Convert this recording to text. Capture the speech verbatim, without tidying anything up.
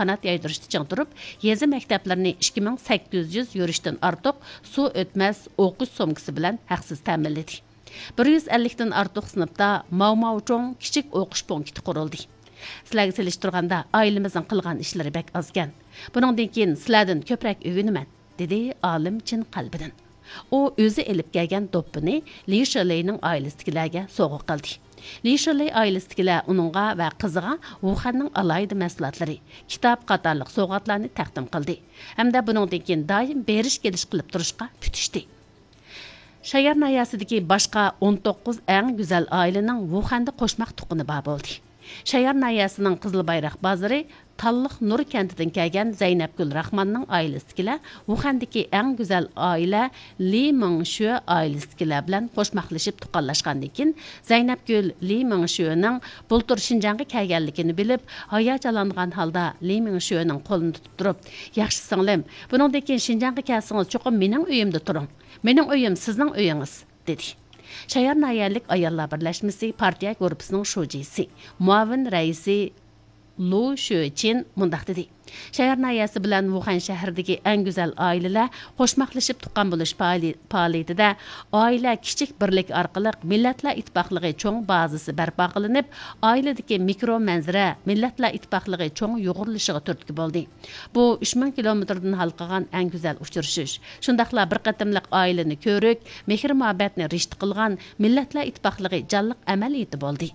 قانات يايدۇرۇشتا چىڭ تۇرۇپ، يېزا مەكتەپلىرىنى ئىككى مىڭ سەككىز يۈز يۈرۈشتىن ئارتۇق سۇ ئۆتمەس ئوقۇش سومكىسى بىلەن ھەقسىز تەمىنلىدى. بىر يۈز ئەللىكتىن ئارتۇق سىنىپتا ماۋماۋچۇڭ كىچىك ئوقۇش پونكىتى قۇرۇلدى. سىلەرگە سېلىشتۇرغاندا ئائىلىمىزنىڭ قىلغان ئىشلىرى بەك ئازكەن. بۇنىڭدىن كېيىن سىلەردىن كۆپرەك ئۆگىنىمەن، دېدى ئالىم چىن قەلبىدىن. ئۇ ئۆزى ئېلىپ كەلگەن دوپپىنى لى شېلەينىڭ ئائىلىسىدىكىلەرگە سوۋغا قىلدى. لى شېلەي ئائىلىسىدىكىلەر ئۇنىڭغا ۋە قىزىغا ۋۇخەننىڭ ئالاھىدە مەھسۇلاتلىرى، كىتاب قاتارلىق سوۋغاتلارنى تەقدىم قىلدى ھەمدە بۇنىڭدىن كېيىن دائىم بېرىش كېلىش قىلىپ تۇرۇشقا پۈتۈشتى. شايار ناھىيەسىدىكى باشقا ئون توققۇز ئەڭ گۈزەل ئائىلىنىڭ ۋۇخەندە قوشماق تۇغقىنى بار بولدى. شايار ناھىيەسىنىڭ قىزىل بايراق بازىرى تاللىق نۇر كەنتىدىن كەلگەن زەينەپگۈل راخماننىڭ ئائىلىسىدىكىلەر ۋۇخەندىكى ئەڭ گۈزەل ئائىلە لى مىڭشۈە ئائىلىسىدىكىلەر بىلەن قوشماقلىشىپ تۇغقانلاشقاندىن كېيىن، زەينەپگۈل لى مىڭشۈەنىڭ بۇلتۇر شىنجاڭغا كەلگەنلىكىنى بىلىپ، ھاياجانلانغان ھالدا لى مىڭشۈەنىڭ قولىنى تۇتۇپ تۇرۇپ، ياخشى سىڭلىم، بۇنىڭدىن كېيىن شىنجاڭغا كەلسىڭىز چوقۇم مېنىڭ ئۆيۈمدە تۇرۇڭ. مېنىڭ ئۆيۈم سىزنىڭ ئۆيىڭىز، دېدى. شايار ناھىيەلىك ئاياللار بىرلەشمىسى پارتىيە گۇرۇپپىسىنىڭ شۇجىسى، مۇئاۋىن رەئىسى لۇ شۆچىن مۇنداق دېدى: شايار ناھىيەسى بىلەن ۋۇخەن شەھىرىدىكى ئەڭ گۈزەل ئائىلىلەر قوشماقلىشىپ تۇغقان بولۇش پائالىي-، پائالىيىتىدە ئائىلە كىچىك بىرلىكى ئارقىلىق مىللەتلەر ئىتتىپاقلىقى چوڭ بازىسى بەرپا قىلىنىپ، ئائىلىدىكى مىكرو مەنزىرە مىللەتلەر ئىتتىپاقلىقى چوڭ يۇغۇرۇلۇشىغا تۈرتكە بولدى. بۇ ئۈچ مىڭ كىلومېتىردىن ھالقىغان ئەڭ گۈزەل ئۇچرىشىش، شۇنداقلا بىر قېتىملىق ئائىلىنى كۆرۈك، مېھىر-مۇھەببەتنى رىشتە قىلغان مىللەتلەر ئىتتىپاقلىقى جانلىق ئەمەلىيىتى بولدى.